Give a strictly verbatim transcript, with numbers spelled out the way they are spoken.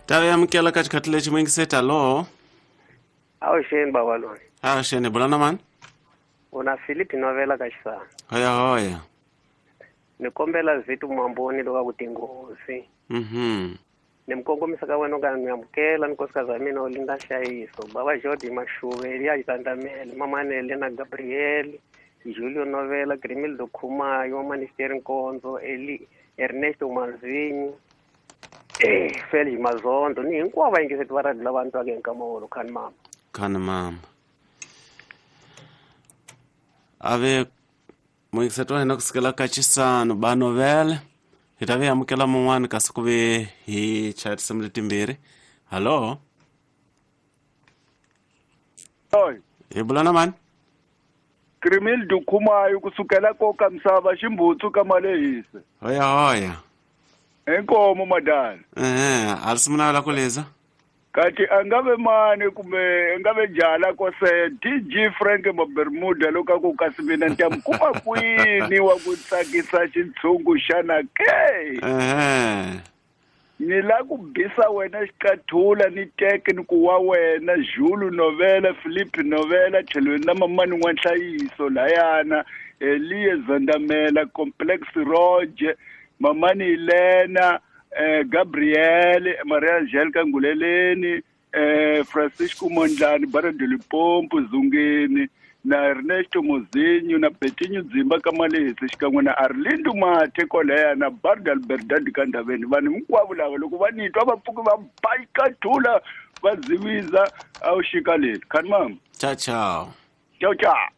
Ta amukela ka xikhathi lexi muyingiseti alo. Avuxeni bava loyi. Avuxeni bula na mani? Una Philip Novela ka Xisana. Hoya hoya. Ni kombela Vitu Mamboni loka ku tinghozi. Mhm. Ni mi kongomisa ka wena ka ni amukela nkosikazi wa mina Olinda Nhlayiso, bava Jodi Mashuve, Eliya Xitandamele, Mamanele na Gabriel, Julio Novela, Grimildo Khumayo, Manisteri Nkonzo, Eli Ernesto Manzinyi, eh Felix Mazondo, ni hinkwavo vayingiseti va radio lava ni twaka hi nkama wolowo. Khani mama. Khani mama. Ave muyingiseti wa hina kusukela ka Xisano ba Novela. Hi ta vi amukela mun'wani kasi ku ve hi chaya tinsimu letimbirhi. Hallo. Oi. Hi bula na mani? Grimildo Khumayo kusukela koka misava ximbutsu ka malehisa. Hoya hoya. Inkomo madala. Eh, a si munavela ku liza. Kati angave mani kumbe angave jala kose D J Frank Mabermuda loka ku kasi mina ntam kuma kwini wa ku tsakisa xintshungu xana ke. Eh. Ni la ku bisa wena xiqathula ni teke ni ku wa wena Julu Novela, Philip Novela, tlhelweni na mamani n'wanhlayiso layana, Eliye Zandamela, Complex Roger, mamani Elena, eh Gabriel, Maria Angelica Nguleleni, eh Francisco Mondlane, Barra de Limpopo, Zungeni, na Ernesto Mozinho, na Betinho Dzimba Kamalesi, xikan'we na Arlindo Mathe Koleya na Barda Alberdadi Kandaveni. Vanhu hinkwavo lava loko va ni twa va pfuka va ba xiqathula va ziviza a wu xikaleni. Khani mama. Ciao ciao. Ciao ciao.